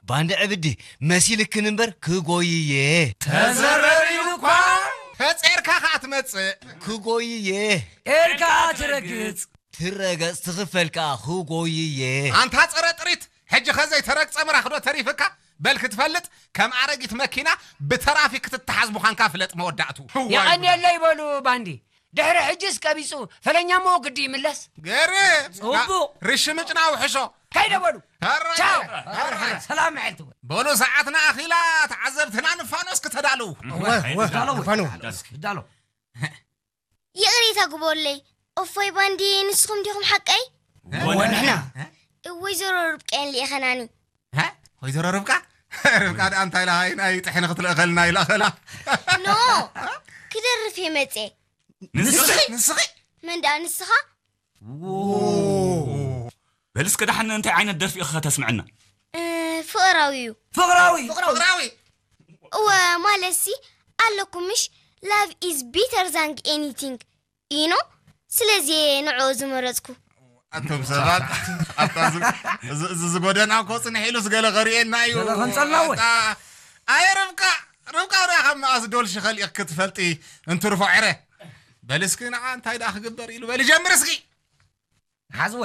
ባንዲ ዕብዲ መሲልክን እምበር ክጎይየ። ተዘረሪሉ እኳ። ተጼርካ ከኣ ትመጽእ። ክጎይየ። ኤርካ ትረግጽ። ትረገጽ ትኽፈል ከኣ ክጎይየ። ኣንታ ጸረ ጥሪት፣ ሕጂ ኸ ዘይተረግጸ ምራኽዶ ተሪፍካ? በል ክትፈልጥ ከም ኣረጊት መኪና ብተራፊክ ክትተሓዝ ምዃንካ ፍለጥ መወዳእቱ። የቐንየለይ በሉ ባንዲ። ድሕሪ ሕጅስ ቀቢጹ ፈለኛ እሞ ግዲ ይምለስ። ገርም። ጽቡቕ። ርሽምጭና ውሕሾ። ከይደ በሉ። ቻው። ሰላም መዓልቲ። በሉ ሰዓትና ኣኺላ ተዓዘብትና ንፋኖስ ክተዳልው። እወ፣ እወ፣ ንፋኖ። ይዳሎ። ይቕሬታ ግበሩለይ። እፎይ ባንዲ ንስኹም ዲኹም ሓቀይ? ወንሕና። ወይዘሮ ርብቃ እየን ልኢኸናኒ። ሀ? ወይዘሮ ርብቃ? ርብቃ ደኣ እንታይ ኢላ ሃይ ናይ ጥሕኒ ክትልእኸልና ኢላ ኸላ? ኖ፣ ክደርፍ እየ መጼ። ንስኺ? ንስኺ? መን ደኣ ንስኻ? በል እስከ ደሓን እንታይ ዓይነት ደርፊ ኢኺ ከተስምዕና? እ፣ ፍቕራዊ እዩ። ፍቕራዊ? ፍቕራዊ? እወ፣ ማለትሲ ኣለኩም ምሽ? Love is better than anything። ኢኖ፣ ስለዚ እየ ንዕኡ ዝመረጽኩ። ኣቶም ሰባት፣ ኣብታ ዝ-፣ ዝ-፣ ዝ-፣ ዝጎደና እኮ ጽንሕ ኢሉስ ገለ ከርእየና እዩ። ገለ ከንጸልና ወይ? ኣታ፣ ኣየ ርብቃ፣ ርብቃ ርኣ ካብ መኣስ ዶልሺ ኸሊእክ ክትፈልጢ እንትርፎ ዕረ። በል እስኪ ንዓ እንታይ ደኣ ክግበር ኢሉ በል ጀምር እስኪ። ሓዝወ።